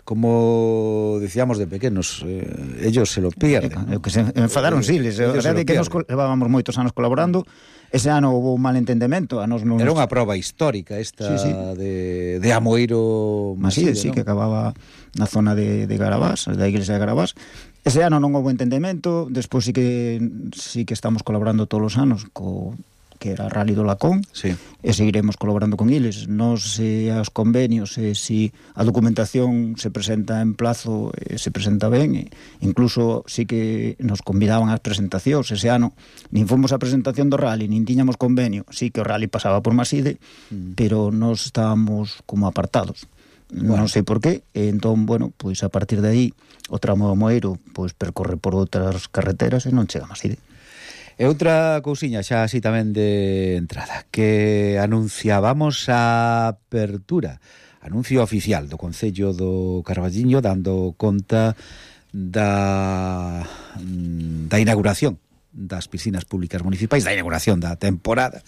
Como decíamos de pequenos, ellos se lo pierden, ¿no? Que se enfadaron, sí, a verdade que nos levábamos moitos anos colaborando. Ese ano houve un malentendemento. Era unha proba histórica esta, sí. de Amoeiro Maside, sí, que acababa na zona de Garabás, da iglesia de Garabás. Ese ano non houve entendemento. Despois sí que estamos colaborando todos os anos que era Rally do Lacón, sí. E seguiremos colaborando con eles. Nos os convenios, se a documentación se presenta en plazo, se presenta ben, incluso sí que nos convidaban ás presentacións. Ese ano nin fomos a presentación do Rally, nin tiñamos convenio. Sí que o Rally pasaba por Maside, pero nos estábamos como apartados. Bueno. Non sei por qué. Entón, bueno, pois a partir de aí o tramo do Amoeiro pois percorre por outras carreteras e non chega a Maside. E outra cousiña xa así tamén de entrada, que anunciábamos a apertura, anuncio oficial do Concello do Carballiño, dando conta da inauguración das piscinas públicas municipais, da inauguración da temporada,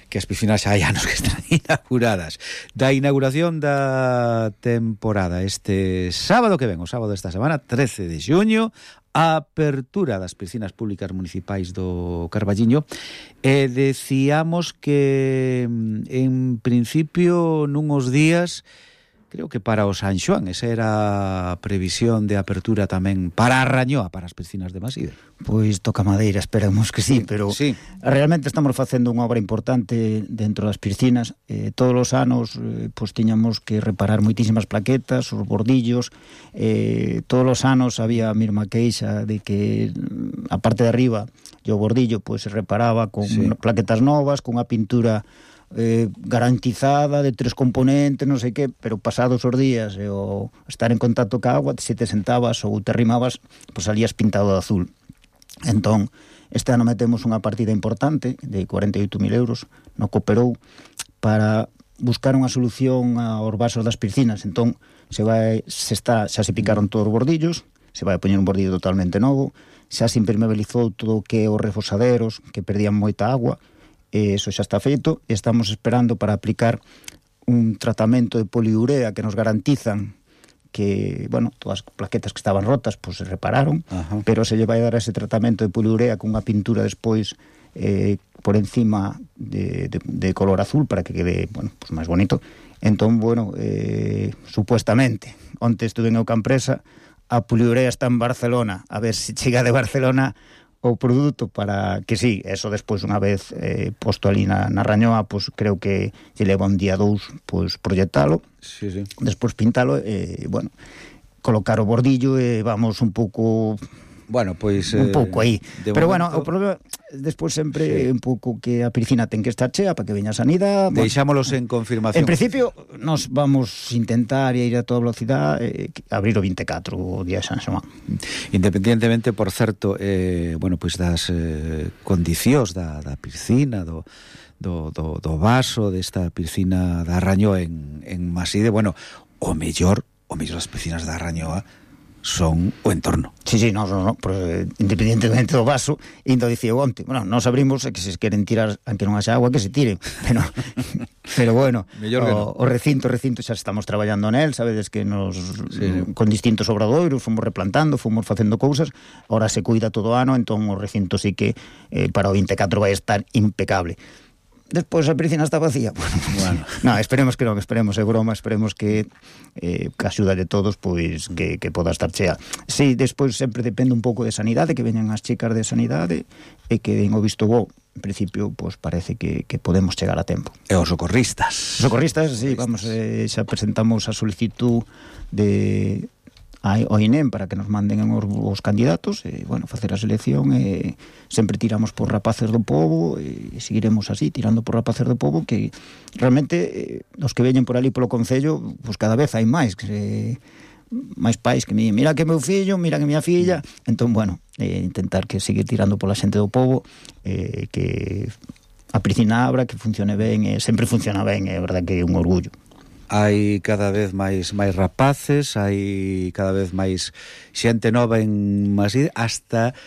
que as piscinas xa hai anos que están inauguradas, da inauguración da temporada este sábado que ven, o sábado desta semana, 13 de xuño, a apertura das piscinas públicas municipais do Carballiño, e decíamos que en principio nunhos días, creo que para o San Xoán, esa era a previsión de apertura tamén para a Rañoa, para as piscinas de Maside. Pois toca madeira, esperamos que sí, pero sí. Realmente estamos facendo unha obra importante dentro das piscinas. Todos os anos pois tiñamos que reparar moitísimas plaquetas, os bordillos, todos os anos había a mesma queixa de que a parte de arriba e o bordillo pois se reparaba con plaquetas novas, con unha pintura garantizada de 3 componentes, non sei que, pero pasados os días e o estar en contacto ca agua, se te sentabas ou te arrimabas, pois salías pintado de azul. Entón, este ano metemos unha partida importante de 48.000 euros no Cooperou para buscar unha solución aos vasos das piscinas. Entón, xa se picaron todos os bordillos, se vai a poñer un bordillo totalmente novo, xa se impermeabilizou todo o que os refosaderos que perdían moita agua. Eso xa está feito, e estamos esperando para aplicar un tratamento de poliurea que nos garantizan que, bueno, todas as plaquetas que estaban rotas pois se repararon. Ajá. Pero se lle vai dar ese tratamento de poliurea con unha pintura despois por encima de color azul para que quede, bueno, pues máis bonito. Entón, bueno, supuestamente, onte estuve en Eucampresa, a poliurea está en Barcelona, a ver se chega de Barcelona o produto para que sí, eso despois unha vez posto ali na Rañoa, pois creo que lle leva un día 2 pois proyectalo, sí. Despois pintalo e, bueno, colocar o bordillo e vamos un pouco... Bueno, pois... un pouco aí. Pero, momento... bueno, o problema despois sempre un pouco que a piscina ten que estar chea para que veña a sanidade. Deixámolos en confirmación. En principio, nos vamos intentar ir a toda velocidade abrir o 24, o día de San Xoán. Independientemente, por certo, bueno, pois das condicións da piscina, do vaso desta piscina da Rañoa en Maside, bueno, o mellor as piscinas da Rañoa son o entorno. Sí, no, pues, independientemente do vaso, indo dicía onte, bueno, nos abrimos e que se queren tirar, aunque non haxa agua, que se tiren, pero bueno, o recinto xa estamos traballando nel, sabedes que con distintos obradoiros fomos replantando, fomos facendo cousas, ahora se cuida todo o ano, entón o recinto sí que para o 24 vai estar impecable. Despois a piscina está vacía. Bueno. No, esperemos que non, esperemos, é broma, esperemos que a axuda de todos pois que poda estar chea. Si, despois sempre depende un pouco de sanidade, que veñan as chicas de sanidade e que den o visto bo. En principio, pois parece que podemos chegar a tempo. E os socorristas? Os socorristas, sí, vamos, xa presentamos a solicitud ao INEM para que nos manden os candidatos e, bueno, facer a selección e sempre tiramos por rapaces do pobo e seguiremos así, tirando por rapaces do pobo que realmente os que veñen por ali polo Concello, pois cada vez hai máis máis pais que me dicen, mira que meu fillo, mira que miña filla, entón, bueno, intentar que seguir tirando pola xente do pobo, que a piscina abra, que funcione ben, sempre funciona ben, é verdad que é un orgullo. Hai cada vez máis rapaces, hai cada vez máis xente nova en Maside, hasta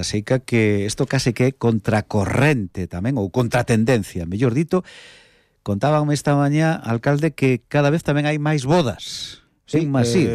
seica que isto case que é contracorrente tamén, ou contratendencia, mellor dito. Contábanme esta mañá, alcalde, que cada vez tamén hai máis bodas en Maside.